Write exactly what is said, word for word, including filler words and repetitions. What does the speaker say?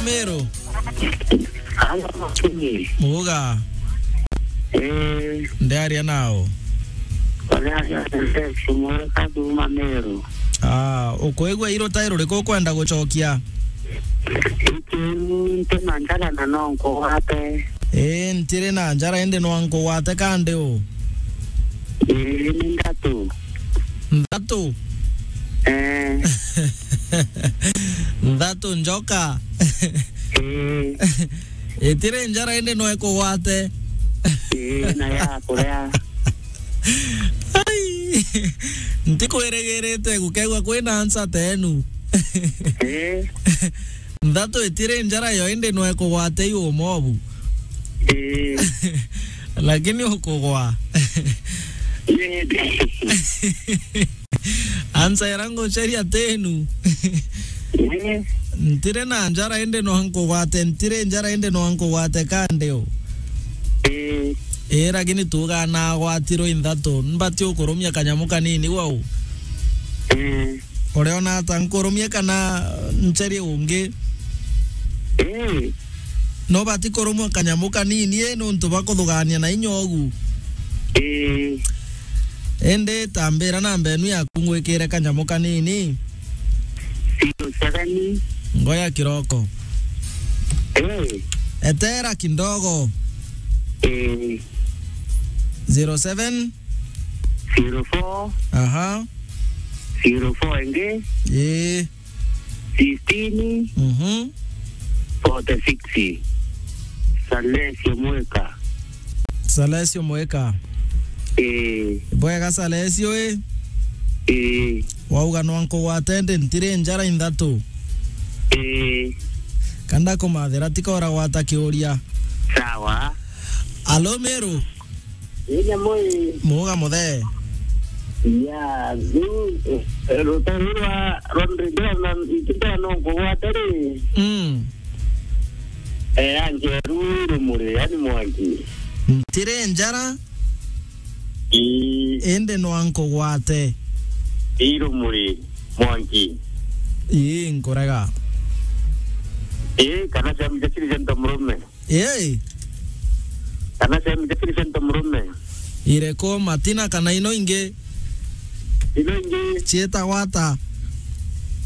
Meru. Halo, Makini. Muga. Eh. Ndiaria nao. Ndiaria nao, Mweru kuuma Meru. Ah, ukwigua iru ta ruriku ukwenda gucokia? Iki nti na njara na no nkugwate. Ii, ntiri na njara indi no nkugwate kandi u? Ii, ni nthatu. Nthatu? Eh. Nthatu njoka. Ii. Itiri njara indi no ikugwate. Ii, na ya kuria. Ai. Ntikwirigirite gukegwa kwina answer tenu. Ii. Nthatu itiri njara yo indi no ikugwate iu mobu. Ii. Lakini ukugwa. Ii. Answer ira ngucaria tenu. Ii. Ntire na njara indi no nkugwate, ntire njara indi no nkugwate kandi u. Ii. Ii, lakini tuga nagwatirwe inthatu, mbati ukurumia kanyamu kanini wau. Ii. Uriona ata, nkurumie kana ncerie ungi? Ii. No bati kurumwa kanyamu kanini, ii, nuntu bwa kuthugania na inya ugu. Ii. Indi tambira namba enu yaku ngwikire kanyamu kanini. Zero seven. Ngoya kiroko. Ii. Etera kidogo. Ii. Zero seven. Zero four. Aha. Zero four ingi. Ii. Sixteen. Mhm. Forty six. Salesio Mwika. Salesio Mwika. Ii. Bwega Salesio, ii. Ii. Wauga no nkugwate ndi ntiri njara inthatu. Ii. Kanda kumathira tikora gwata kiuria. Sawa. Alo Meru. Ii, nyamui. Muga muthe. Ya, riu, eh, rutari rwa, rwa ndindira na, ndindira no nkugwate ri. Mm. Eh, anjeru rumuri, yani mwanki. Ntire njara. Ii. Indi no nkugwate. Ii rumuri, mwanki. Ii, nkurega. Ii, kana ciamu cia ciri cia nto murume. Ii. Kana ciamu cia ciri cia nto murume. Iriku, Matina kana ino ingi? Ino ingi. Ciitagwa ata?